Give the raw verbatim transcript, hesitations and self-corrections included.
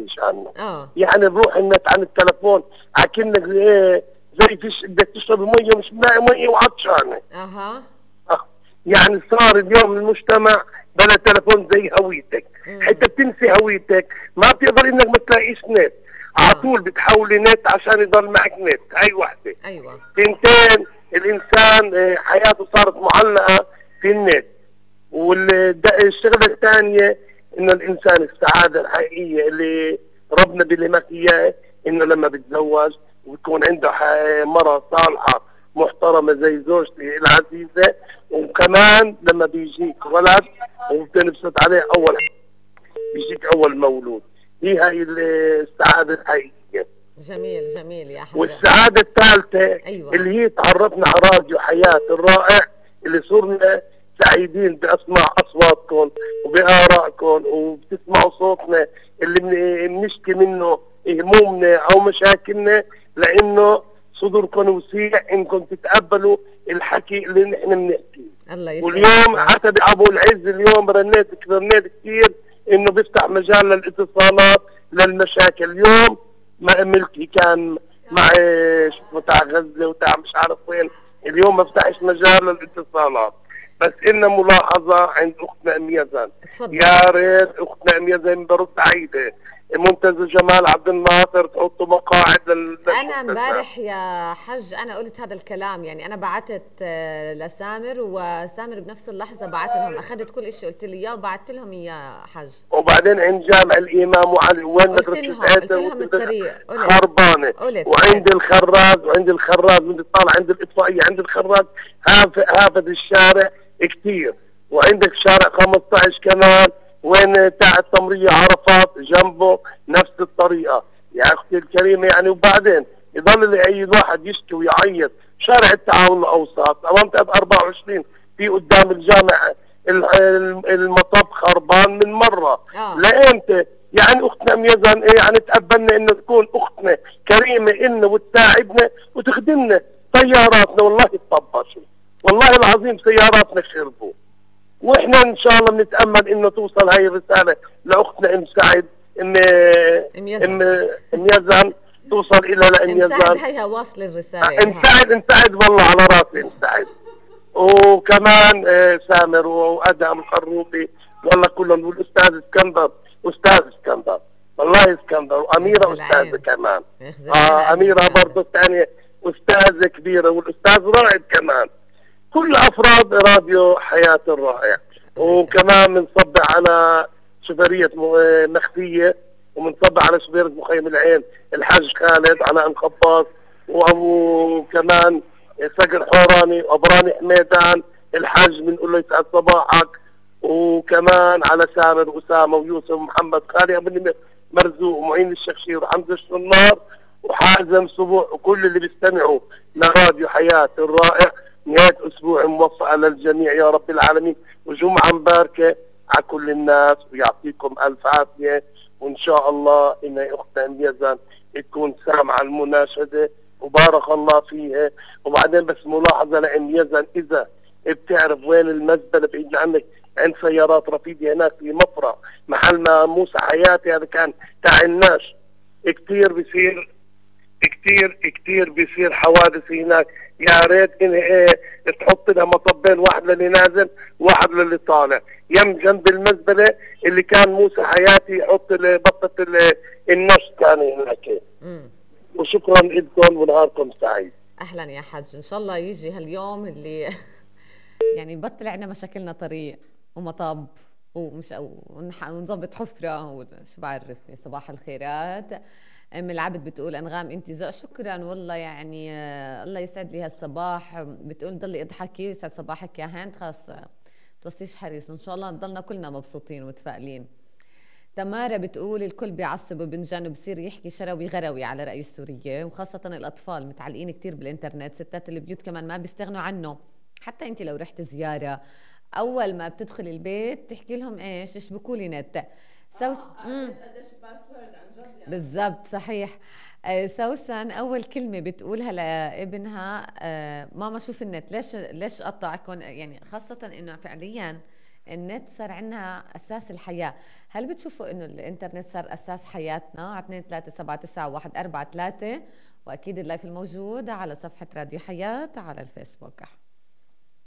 بتحكيش عنه. اه يعني نروح النت عن التلفون عكنك ايه زي فيش بدك تشرب ميه ومش ملاقي ميه وعطشانه. اها آه. يعني صار اليوم المجتمع بلا تلفون زي هويتك، حتى بتنسي هويتك ما بتقدر انك ما تلاقيش نت، على طول بتحولي نت عشان يضل معك نت. هاي وحده. ايوه تنتين الانسان حياته صارت معلقه في النت. والشغله الثانيه انه الانسان السعاده الحقيقيه اللي ربنا بيلمك اياه انه لما بتزوج ويكون عنده مرة صالحه محترمه زي زوجتي العزيزه، وكمان لما بيجيك ولد وبتنبسط عليه اول بيجيك اول مولود. هي هاي السعاده الحقيقيه. جميل جميل يا حاج. والسعاده الثالثه أيوة. اللي هي تعرفنا على راديو حياه الرائع اللي صرنا سعيدين باسماع اصواتكم وبارائكم وبتسمعوا صوتنا اللي بنشكي منه همومنا او مشاكلنا، لانه صدوركم وسيع انكم تتقبلوا الحكي اللي نحن بنحكيه. الله يسعدك. واليوم حتى ابو العز اليوم رنيت رنيت كثير انه بيفتح مجال للاتصالات للمشاكل. اليوم ما ملكي كان مع شو تاع غزه وتاع مش عارف وين، اليوم ما فتحش مجال للاتصالات. بس إن ملاحظة عند أختنا أم يزن، يا ريت أختنا أم يزن برد عيدة منتزه جمال عبد الناصر تحطوا مقاعد لل أنا امبارح يا حج أنا قلت هذا الكلام، يعني أنا بعتت لسامر وسامر بنفس اللحظة بعت لهم، أخذت كل شيء قلت لي إياه وبعت لهم إياه حج. وبعدين عند جامع الإمام وعلي وين قلت لهم قلت لهم الطريق خربانة، وعند الخراز وعند الخراز من طالع عند الإطفائية عند الخراز هافد الشارع كتير، وعندك شارع خمسة عشر كمان وين تاع التمرية عرفات جنبه نفس الطريقة يا اختي الكريمة. يعني وبعدين يضل اي واحد يشكي ويعيط. شارع التعاون الاوسط امام أربعة وعشرين في قدام الجامع المطب خربان من مرة. آه. لامتى؟ يعني اختنا ميزان ايه يعني تقبلنا انه تكون اختنا كريمة إلنا وتساعدنا وتخدمنا. طياراتنا والله تطبشوا، والله العظيم سياراتنا خربوا، واحنا ان شاء الله بنتامل انه توصل هاي الرساله لاختنا ام سعد ام ام ام يزن توصل الى لام يزن. ام سعد هيها واصل الرساله. ام سعد ام سعد والله على راسي ام سعد. وكمان سامر وادهم الخروبي والله كلهم، والاستاذ اسكندر استاذ اسكندر والله اسكندر، واميره استاذه كمان. اه اميره برضه الثانيه استاذه كبيره، والاستاذ رائد كمان. كل افراد راديو حياة الرائع. وكمان بنصب على شبرية مخفية، وبنصب على شبيرة مخيم العين الحاج خالد علاء الخباص، وابو كمان صقر حوراني وابراني حميدان الحاج بنقول له يسعد صباحك. وكمان على سامر اسامه ويوسف ومحمد خالي ابن مرزوق ومعين الشخشير وحمزه الشنار وحازم صبوح وكل اللي بيستمعوا لراديو حياة الرائع. نهاية أسبوع موفقة للجميع يا رب العالمين، وجمعة مباركة على كل الناس، ويعطيكم ألف عافية. وإن شاء الله إن أختنا أم يزن تكون سامعة المناشدة وبارك الله فيها. وبعدين بس ملاحظة لأم يزن، إذا بتعرف وين المزبلة بعيد عنك عند سيارات رفيدة هناك في مفرق محل ما موسى حياتي هذا كان تاع الناش، كتير بصير كتير كتير بيصير حوادث هناك. يا ريت ان ايه تحط لها مطبين، واحد للي نازل واحد للي طالع يم جنب المزبله اللي كان موسى حياتي يحط بطه النش كان هناك. وشكرا لكم ونهاركم سعيد. اهلا يا حج، ان شاء الله يجي هاليوم اللي يعني نبطل عنا مشاكلنا طريق ومطب ومش ونظبط حفره وشو بعرفني. صباح الخيرات. ام العبد بتقول انغام انت ذوق. شكرا والله، يعني آه الله يسعد لي هالصباح. بتقول ضلي اضحكي يسعد صباحك يا هند. خاص توصيش حريص ان شاء الله نضلنا كلنا مبسوطين ومتفائلين. تمارا بتقول الكل بيعصب وبنجان وبصير يحكي شروي غروي على رأي السورية، وخاصة الأطفال متعلقين كتير بالإنترنت. ستات البيوت كمان ما بيستغنوا عنه. حتى انت لو رحت زيارة أول ما بتدخل البيت تحكي لهم ايش اشبكوا لي نت. سوس آه بالضبط صحيح. آه سوسن اول كلمه بتقولها لابنها آه ماما شوف النت. ليش ليش قطعكم؟ يعني خاصه انه فعليا النت صار عنا أساس الحياة. هل بتشوفوا إنه الإنترنت صار أساس حياتنا؟ على اثنين ثلاثة سبعة تسعة واحد أربعة ثلاثة، وأكيد اللايف الموجود على صفحة راديو حياة على الفيسبوك.